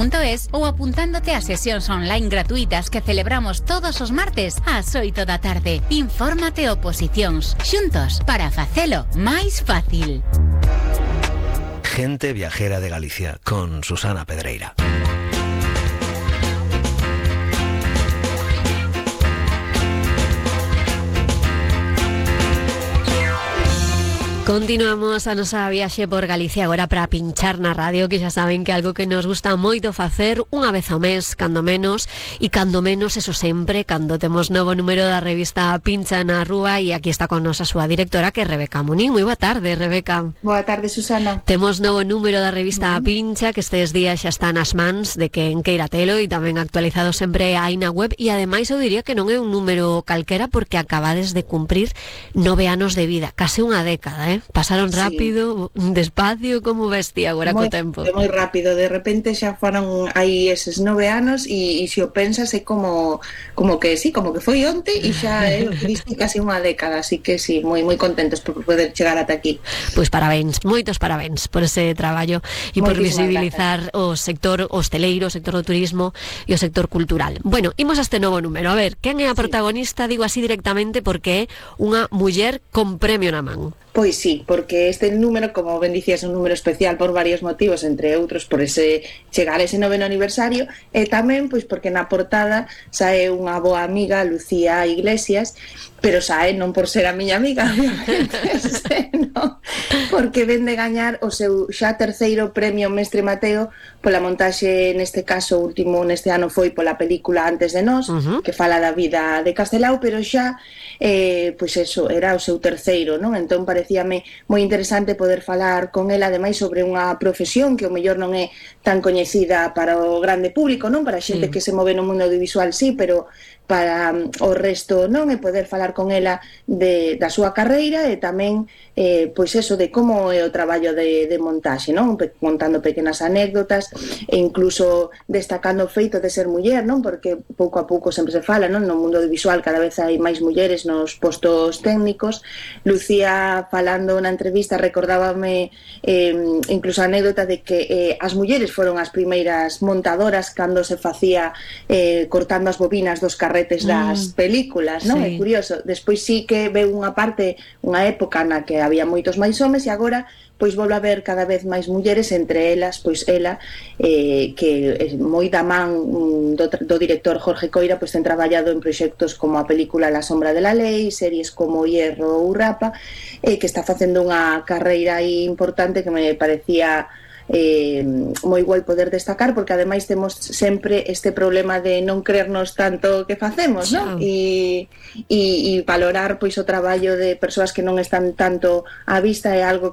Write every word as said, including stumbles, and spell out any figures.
.es ou apuntándote a sesións online gratuitas que celebramos todos os martes ás oito da tarde. Infórmate e oposicións, xuntos para facelo máis fácil. Gente viajera de Galicia con Susana Pedreira. Continuamos a nosa viaxe por Galicia agora para pinchar na radio, que xa saben que é algo que nos gusta moito facer unha vez ao mes, cando menos, e cando menos, eso sempre, cando temos novo número da revista Pincha na Rúa, e aquí está con nos a súa directora, que é Rebeca Munín. Moi boa tarde, Rebeca. Boa tarde, Susana. Temos novo número da revista uh-huh. Pincha, que estes días xa está nas mans de quen queira telo, e tamén actualizado sempre aí na web, e ademais eu diría que non é un número calquera, porque acabades de cumprir nove anos de vida, case unha década, eh? Pasaron rápido, sí. Despacio, como bestia agora co tempo. Moi rápido, de repente xa foron aí eses nove anos e, e se o pensas é como como que sí, como que foi onte e xa é casi unha década, así que sí, moi moi contentos por poder chegar ata aquí. Pois parabéns, moitos parabéns por ese traballo e por visibilizar o sector hosteleiro, o sector do turismo e o sector cultural. Bueno, imos a este novo número. A ver, quen é a protagonista? Sí. Digo así directamente porque é unha muller con premio na man. Pois sí, porque este número, como ben dicías, é un número especial por varios motivos, entre outros por ese chegar a ese noveno aniversario, e tamén pois porque na portada sae unha boa amiga, Lucía Iglesias, pero sae non por ser a miña amiga, obviamente, no, porque ven de gañar o seu xa terceiro premio Mestre Mateo pola montaxe, neste caso, o último neste ano foi pola película Antes de Nós, uh-huh. que fala da vida de Castelao, pero xa eh, pois eso, era o seu terceiro, non? Entón parecíame moi interesante poder falar con ela, ademais, sobre unha profesión que o mellor non é tan coñecida para o grande público, non? Para a xente sí. que se move no mundo audiovisual, sí, pero para um, o resto non, e poder falar con ela de, da súa carreira e tamén eh, pois eso, de como é o traballo de, de montaxe, non? Pe- montando pequenas anécdotas e incluso destacando o feito de ser muller, non? Porque pouco a pouco sempre se fala, non? No mundo audiovisual cada vez hai máis mulleres nos postos técnicos. Lucía, falando na entrevista, recordábame eh, incluso a anécdota de que eh, as mulleres foron as primeiras montadoras cando se facía eh, cortando as bobinas dos carretes das mm, películas, non? Sí. É curioso. Despois sí que veu unha parte, unha época na que había moitos máis homes e agora pois volve a haber cada vez máis mulleres, entre elas, pois ela, eh, que é moi da man do, do director Jorge Coira, pois ten traballado en proxectos como a película La sombra de la ley, series como Hierro ou Rapa, eh, que está facendo unha carreira aí importante que me parecía eh, moi guai poder destacar, porque ademais temos sempre este problema de non creernos tanto que facemos, non? E, e, e valorar pois o traballo de persoas que non están tanto á vista é algo